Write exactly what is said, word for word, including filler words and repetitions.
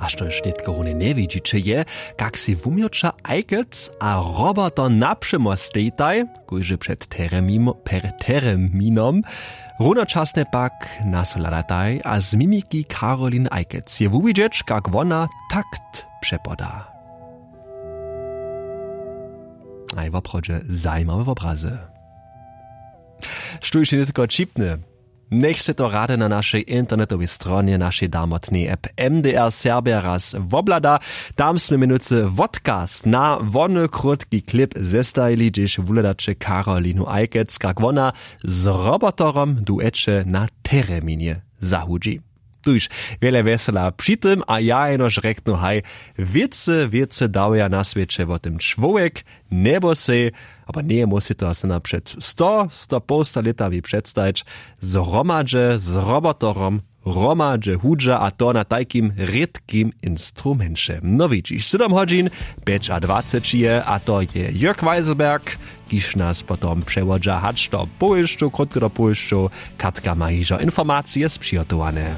Štož nětko runje njewidźiće je, kak sej wumjoća ajkec a roboto napřemo stejtaj, kóždy před tereminom runočasnje pak naso hladataj a z mimiki karolin ajkec je wuwidźeć, kak wona takt přepoda. Aj woprawdźe zajimawe wobrazy. Štóž je nětko ćipne? Njech sej to rady na našej internetowej stronje našej damotnej app mdr serbja raz wobhlada. Tam smy měnujcy wotkaz na wony krótki klip zestajili, hdźež wuhladaće karolinu ajkec, kak wona z robotorom dueće na tereminje zahudźi. Tuž wjele wjesela při tym a ja jenož rjeknu haj, wěcy wěcy dawja na swěće wo tym čłowjek, njebosej, abo njeje móhł sej to asana před sto sto połsta lětami předstajić, zhromadźe z robotorom hromadźe hudźa a to na tajkim rědkim instrumenće. No widźiš, sydom hodźin pjećadwaceći je a to je jörg weiselberg, kiž nas potom přewodźa hač do powěsćow krótko do powěsćow. Katka ma hižo informacije spřihotowane.